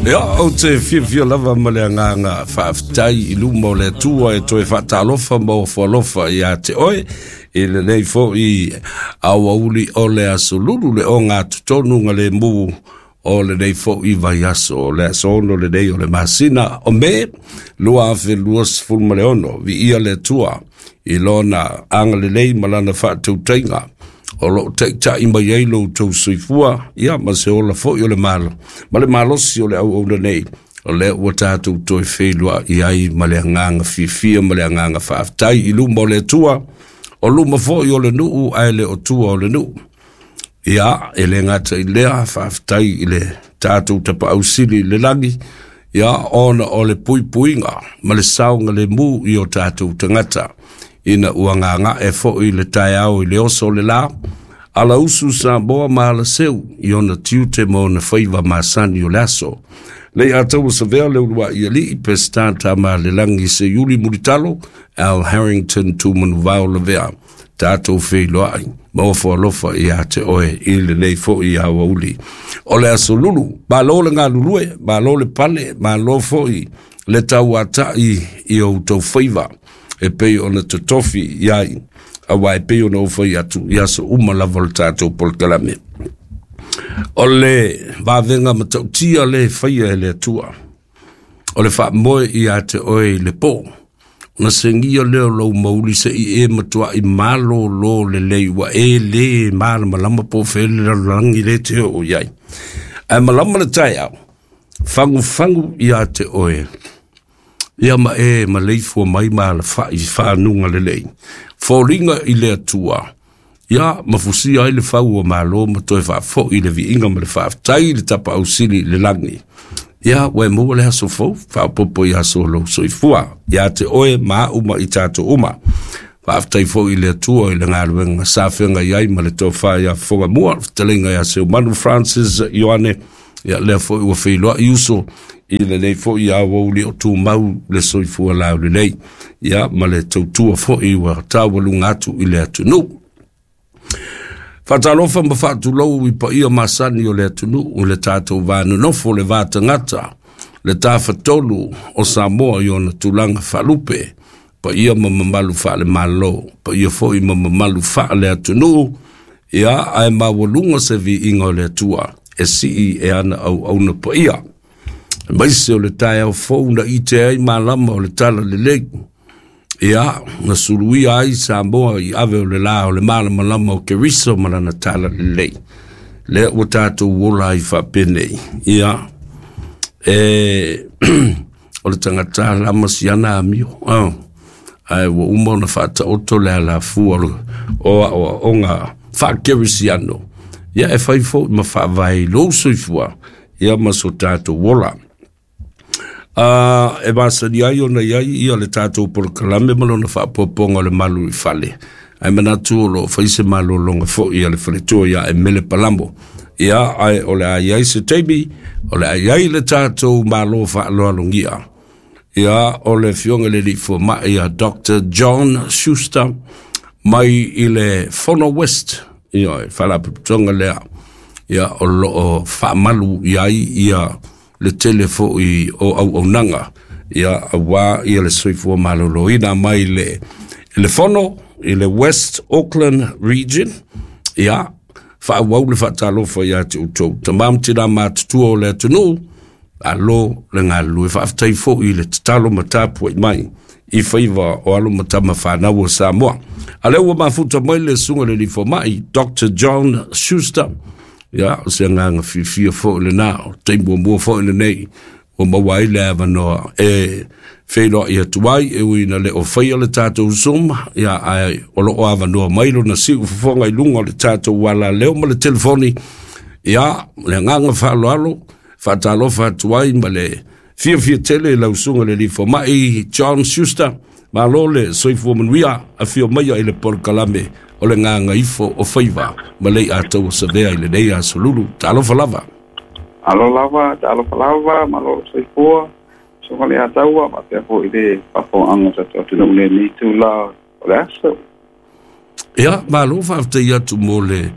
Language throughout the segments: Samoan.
Ia, ou te fiafia lava ma le agaga faafetai i luma o le Atua e toe faatalofa ma ofo alofa ia te oe i lenei foi aoauli o le aso Lulu, le ogatotonu lemu o lenei foi vaiaso, o le aso 6 lenei o le masina o Me 2026. Viia le Atua i lona agalelei ma lana faatautaiga o loo taitai mai ai lo outou soifua, ia ma se ola foi o le malo ma le malosi o le auauna nei, o lea ua tatou toe feiloai ai ma le agaga fiafia ma le agaga faafetai i luma o le Atua, o luma foi o le nuu ae le o tua o le nuu. Ia, e le gata i lea, faafetai i le tatou Tapaau Sili i le lagi, ia ona o le puipuiga ma le saoga lemu i o tatou tagata ina ua gagae foi le taeao i le oso o le la, ala usu Samoa ma ala seu i ona tiute ma ona faiva masani o le aso. Lei ataua savea le uluai alii Pesita Tamalelagi Seiuli Mulitalo Al Harrington Tumanuvao Lavea, tatou feiloai ma ofo alofa ia te oe i lenei foi aoauli o le aso Lulu. Malo le galulue, malo le pale, malo foi le tauatai i o outou faiva e pei ona totofi iai, aua e pei ona ou fai atu i aso uma lava o le tatou polokalame, o le vavega matautia le faia e le Atua o le faamoe ia te oe i le po, ona segia lea o lou mauli se i e matuai malōlō lelei, ua e lē malamalama po o fea le lalolagi le te oo i ai, ae malama le taeao fagufagu ia te oe, ia ma e maleifua mai ma alafai fanuga lelei, foliga i le Atua, ia mafusia ai le fau o malo ma toe faafoi le viiga ma le faafetai i le Tapaau Sili i le lagi. Ia ua e maua le aso fou faaopoopo i aso o lou soifua ia te oe ma au ma i tatou uma. Faafetai foi i le Atua i le galuega sa feagai ai ma le tofa ia Fofoga Mua, fetalaiga ia Seumanu Francis Ioane. Ia lea foi ua feiloai uso i lenei foi aoauli o tumau le soifua laulelei, ia ma le tautua foi ua taualuga atu i le atunuu. Faatalofa ma faatulou i paia masani o le atunuu, le tatou va nonofo, le va tagata, le tafatolu o Samoa i ona tulaga faalupe, paia ma mamalu faale-Malo, paia foi ma mamalu faale-atunuu, ia ae maualuga se viiga o le Atua e sii e ana auauna paia. Aemaise o le taeao fou na ite ai malama o le tala lelei, ia na suluia ai Samoa i ave o le la o le malamalama o Keriso ma lana tala lelei, lea ua tatou ola ai faapenei. Ia e o le tagata lama siana amio, ae ua uma ona faataoto le alafua o aoaoga faakerisiano, ia e fai foi ma faavae i lou soifua, ia ma so tatou ola. E masani ai ona iai ia le tatou polokalame ma lona faapopoga o le malu i fale, ae manatu o loo fai se malologa foi a le faletua ia Emele Palamo. Ia ae o le a iai se taimi o le a iai le tatou malo faaloalogia, ia o le afioga i le alii fomai ia Dr. John Schuster mai i le Fono West, ia e faalapotopotoga lea, ia o loo faamalu i ai ia le tele foi o auaunaga, ia auā ia le soifua maloloina mai le fono i le West Auckland Region. Ia faaauau le faatalofa ia te outou tamā ma tinā matutua o le atunuu, alo le galulue. Faafetai foi i le tatalo ma tapuai mai i faiva o alo ma tama fanau o Samoa. A lea ua mafuta mai le susuga i le alii fomai Dr. John Schuster, ia o se agaga fiafia foi lenā, o taimi muamua foi lenei ua maua ai le avanoa e feiloai atu ai, e ui ina le o faia le tatou Zoom, ia ae o loo avanoa mai lona siu fofoga i luga o le tatou alaleo ma le telefoni. Ia le agaga faaaloalo faatalofa atu ai ma le fiafia tele i lau susuga i le alii fomai John Schuster. Malo le soifua manuia, afio maia i le polokalame o le Gagaifo o Faiva ma lei ataua savea i lenei aso Lulu. Talofa lava. Alo lava, talofa lava, malo le soifua. Susuga le Ataua, faapea foi le faafofoga o tatou atunuu i lenei itula o le aso. Ia, malo faafetai atu mo le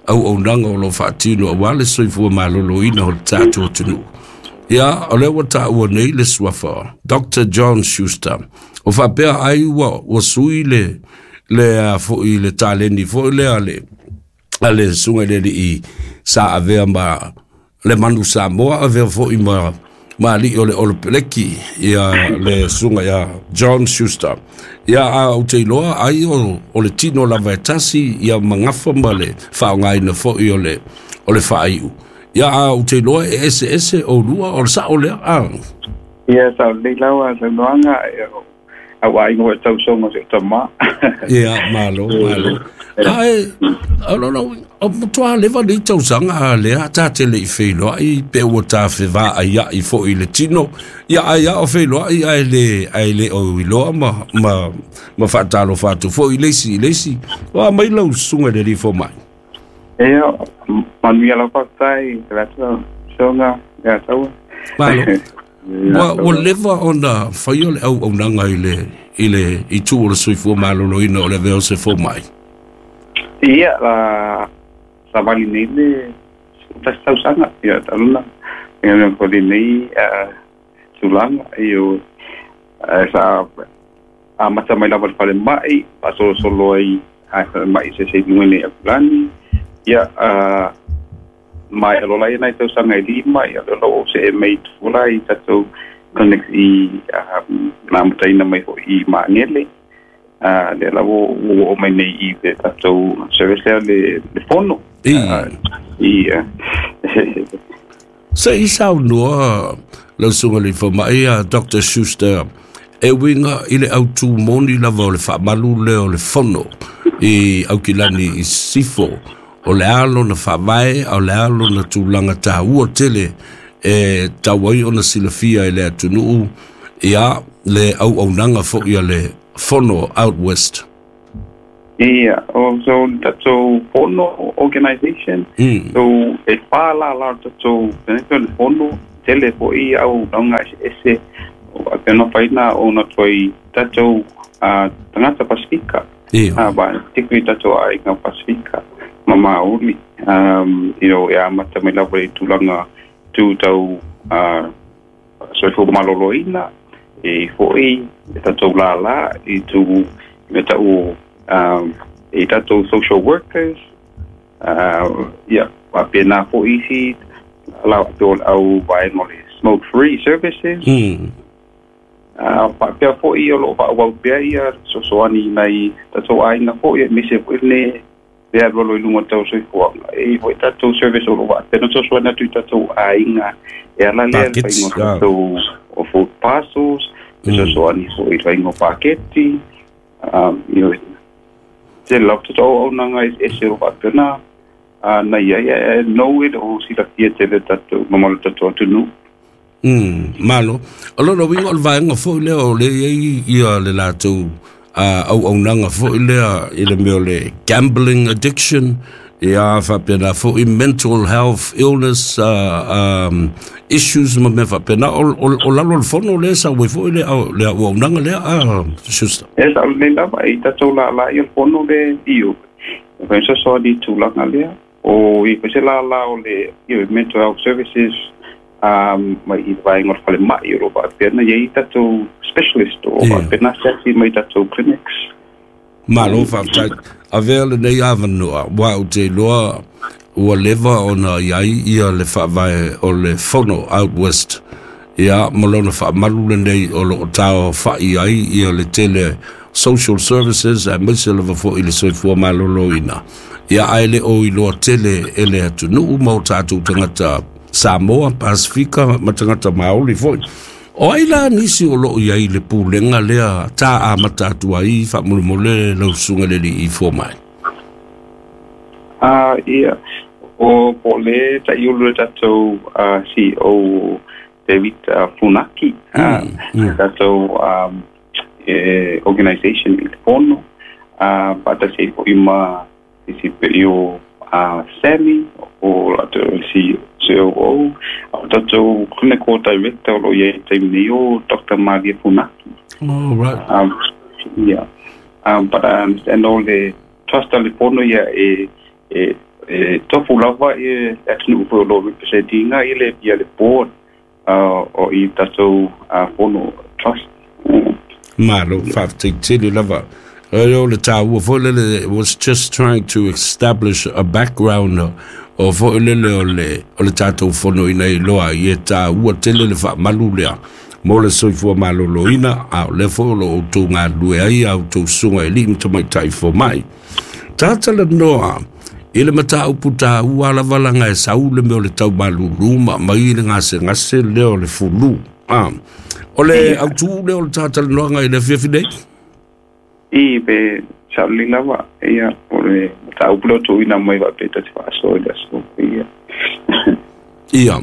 auaunaga o lo faatino aua le soifua maloloina o le tatou atunuu. Ia, o lea ua taua nei le suafa Dr. John Schuster. O faapea ai ua sui le fo'i le taleni fo'i lea a le susuga i le alii sa avea ma le manu Samoa, avea fo'i ma alii o le Olopeleki, ia le susuga ia John Schuster. Ia, a ou te iloa ai o le tino lava e tasi, ia magafa ma le faaaogaina fo'i o le faaiu. Ia, a ou te iloa e eseese o lua, o le sa'o lea. Ia, sa o lelei lava saunoaga, au aiga foi tausoga si o tamā. Ia, malo, malo. Ae, o matua leva nei tausaga lea ta te le i feiloai pe ua ta fevaaia'i fo'i le tino. Ia, ai a o feiloai ae le o iloa ma faatalofa atu fo'i le isi i le isi. O a mai lau susuga i le alii fomai. Ia, manuia lau faafetai, le soga ia taua. Malo. Ua leva ona faia le auaunaga i le itu o le soifua maloloina o le avea o se fomai. Ia, la savali nei le tasi tausaga, ia taluna. Ia mea foi nei tulaga, ia sa amata mai lava le falemai, faasolosolo ai a falemai se se luga nei Aukilani. Ia, mai alola ia nai tausaga e 5, ia le o se e mei tula i tatou clinics i na amataina mai fo'i i Magele. Le la ua o mai nei i le tatou service lea le fono. Ia. Se i saunoa lau susuga i le fomai a Dr. Schuster, e uiga i le autū moni lava o le faamalu lea o le fono i Aukilani i Sisifo, o le a lona faavae, o le a lona tulaga taua tele e tau ai ona silafia e le atunuu, ia le auaunaga fo'i a le fono out west. Ia, so tatou fono organization, so e whā la la tatou le fono, tele fo'i auaunaga eseese, o pena whaina o na toi tatou tagata Pasifika. Ba, particularly tatou aiga Pasifika, ma Māori, you know, e amata mai lava i tulaga tū tau soifua maloloina, e fo'i e tatou lālā i tū me tau e tatou social workers, ia, faapena fo'i isi la o au vaega o le smoke free services. Faapea fo'i o loo faaauau pea ia sosoani nai tatou aiga fo'i, aemaise fo'i le le alualu i luga o tau soifuaga. E fo'i tatou service o loo faapena sosoani atu i tatou aiga e ala lea le faiga o tatou o food parcels, e sosoani fo'i i faiga o paketi. You know, te lava tatou auaunaga eseese o loo faapena na iai, e nou e le o silafia tele tatou mamalu tatou atunuu. Malo. O lona uiga o le vaega fo'i lea o le iai ia le latou auaunaga fo'i lea i le mea o le gambling addiction, ia faapena fo'i mental health illness issues ma mea faapena. O lalo o le fono lea sau ai fo'i le auaunaga lea a Schuster. E sa o lenei lava i tatou lālā i o le fono le io. E whai sosoani tulaga lea. O i koe se lālā o le io, mental health services, mai i vaega o le falemai o loo faapena iai tatou specialist o faapena asiasi mai tatou clinics. Malo faafetai. Avea lenei avanoa, ua ou te iloa ua leva ona iai ia le faavae o le fono out west. Ia, ma lona faamalu lenei o loo taofa'i ai ia le tele social services aemaise lava fo'i le soifua maloloina. Ia, ae le o iloa tele e le atunuu ma o tatou tagata Samoa, Pasifika ma tagata Māori fo'i. O ai la nisi o loo iai le pulega lea ta amata atu ai faamolemole lau susuga i le alii fomai? Ia, o po le taiulu le tatou CEO David Funaki, tatou organization i le fono, faatasi ai fo'i ma isi pei o Sammy o latou COO, o tatou clinical director o loo iai taimi nei o Dr. Maria Funaki. Oh, right. Yeah. But I understand all the trust le fono ia e tofu lava e atunuu foi o loo representinga i le ia le board. O i tatou fono trust. Malo, faafetai tele lava. O le tāua foi lele was just trying to establish a background o foi lele o le tatou fono ina iloa i e tāua tele le faamalu lea mo le soifua maloloina, a o lea foi o lo outou galulue ai a outou susuga i alii ma tamaitai fomai. Tatalanoa i le mataupu tāua lava laga e sau le mea o le taumalulu ma mai le gasegase lea o le flu. O le autū lea o le tatalanoaga i le afiafi nei. I pe sa'olelei lava ia o le mataupu lea o tuuina mai faapea ta te faasoa i le aso ia. Ia.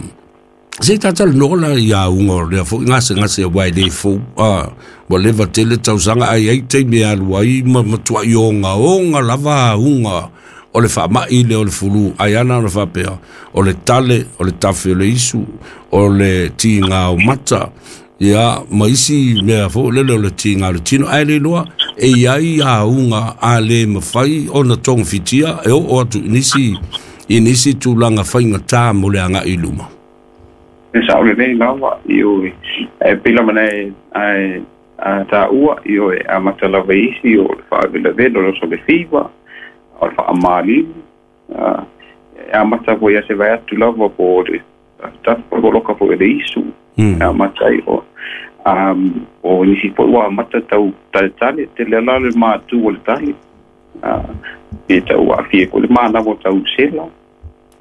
Se tatalanoa la i auga o lea foi gasegase aua e lē fou, ua leva tele tausaga ae ai taimi e alu ai ma matuai ogaoga lava auga o le faama'i lea o le flu, ai ana ona faapea o le tale, o le tafe o le isu, o le tigā o mata, ia ma isi mea foi lele o le tigā o le tino, ae le iloa e i ai auga a lē mafai ona togafitia e oo atu i nisi tulaga faigata mo le agaʻi i luma. E sa'olelei lava ioe, e pei lava na e ae a tāua ioe amata lava isi o le faavelavelo o le oso le fiva o le faamalimu e amata foi ia se vai atu lava po o le tafa poloka foi le isu e amata ai o nisi foi ua amata tau taletale tele ala le matu o le tale e tau aafia foi le manawa tau sela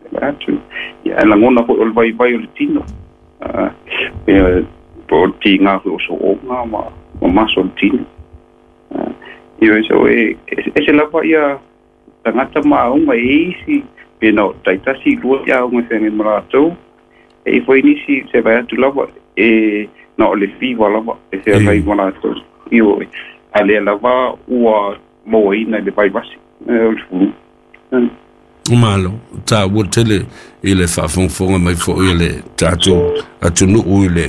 e vai atu ia e lagona foi o le vaivai o le tino pe po o le tigā foi o so'oga ma maso o le tino ioe. So e ese lava ia tagata ma auga e isi pe na o taitasi lua ia auga e feagai ma latou e i foi nisi se vai atu lava e na o le fiva lava e feagai ma latou ioe, a lea lava ua mauaina i le vaivasi o le flu. Malo, tāua tele i le faafogafoga mai foi e le tatou atunuu i le